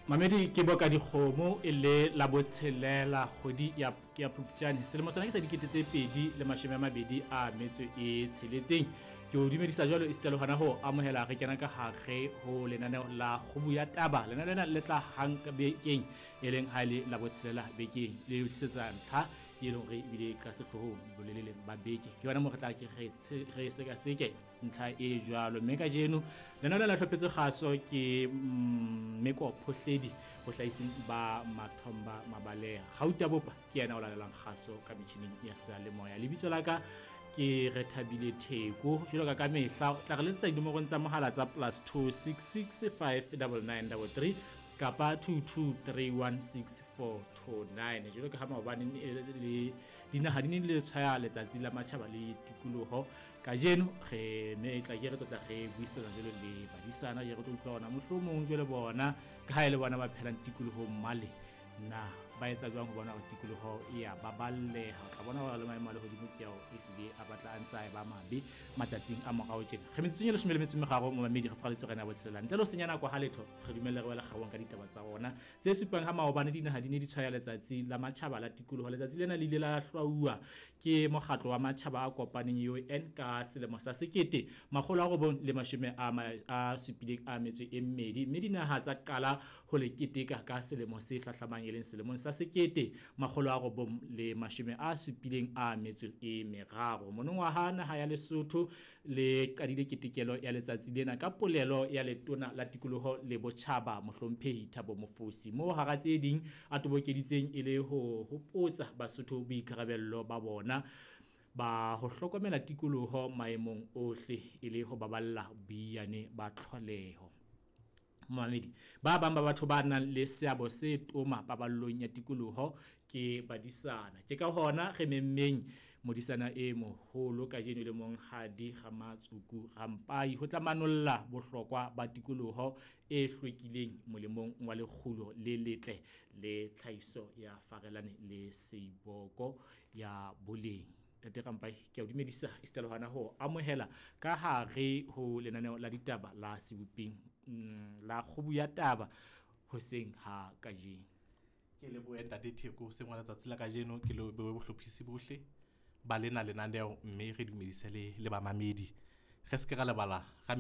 Mamedi ke boka dikgomo e le la botshelela kgwedi ya ya Phupjane selemo sena ke sa 2026. Ke o dumedisa jwalo esita le hona ho amohela re kena ka hare ho lenaneo la Kgubu ya Taba. Lenaneo lena le tla hang ka bekeng, e leng ha e le la botshelela bekeng, le o tlisetsa ntlha e leng hore ebile ka sehloohong boleleleng ba beke. Ke yona moo re tla ke re sekaseke ntlha e jwalo. Mme kajeno lenaneo la hlophetse kgaso ke Meko Phohledi bohlahising ba Mathomba Mabaleha. Gauta Bopa ke yena o lalelang kgaso ka metjhining ya seyalemoya. Lebitso la ka ke Rethabile Theko. Jwalo ka ka mehla tla re letsetsa dinomorong tsa mohala tsa +266 59933 kapa 22316429. Jwalo ka ha maobane le dinaha di ne di le tshwaya letsatsi la matjhaba le tikoloho, kajeno re me tla ke re tlotla re buisana jwalo le badisana, ke re tlo utlwa ona mohlomong jwale bona ka ha e le bona ba phelang tikolohong male, na ba etsa jwang ho bona hore tikoloho e ya baballeha. O tla bona hore le maemo a lehodimo ke ao ehlile a batla a ntse a e ba mabe matsatsing a morao tjena. Re metsotsong e 13 momamedi re faraletse rena botshelela. Ntle le ho senya nako ha letho, re dumelle re wele kgabong ka ditaba tsa rona tse supang ha maobane dinaha di ne di tshwaya letsatsi la matjhaba la tikoloho. Letsatsi lena le ile la hlwauwa ke mokgatlo wa matjhaba a kopaneng UN ka selemo sa 1972, mme dinaha tsa qala ho le keteka ka selemo se hlahlamang e leng selemong sa 1973. Monongwaha naha ya Lesotho le qadile ketekelo ya letsatsi lena ka polelo ya letona la tikoloho le botjhaba mohlomphehi Thabo Mofosi, moo hara tse ding a tobokeditseng e le ho hopotsa Basotho boikarabello ba bona ba ho hlokomela tikoloho maemong ohle e le ho baballa boiyane ba tlholeho. Momamedi, ba bang ba batho ba nang le seabo se toma paballong ya tikoloho ke badisana. Ke ka hona re memmeng modisana e moholo kajeno le monghadi Ramatsuku Rampai ho tla manolla bohlokwa ba tikoloho e hlwekileng molemong wa lekgulo le letle le tlhahiso ya farelane le seiboko ya boleng. Ntate Rampai, ke a o dumedisa esita le hona ho amohela ka hare ho lenaneo la ditaba la Seboping la Kgubu ya Taba hoseng ha kajeno. Ke lebohe ntate Theko hoseng wa letsatsi la kajeno, ke lebohe bohlophisi bohle ba lena lenaneo, mme re dumedise le bamamedi. Re se ke ra lebala ra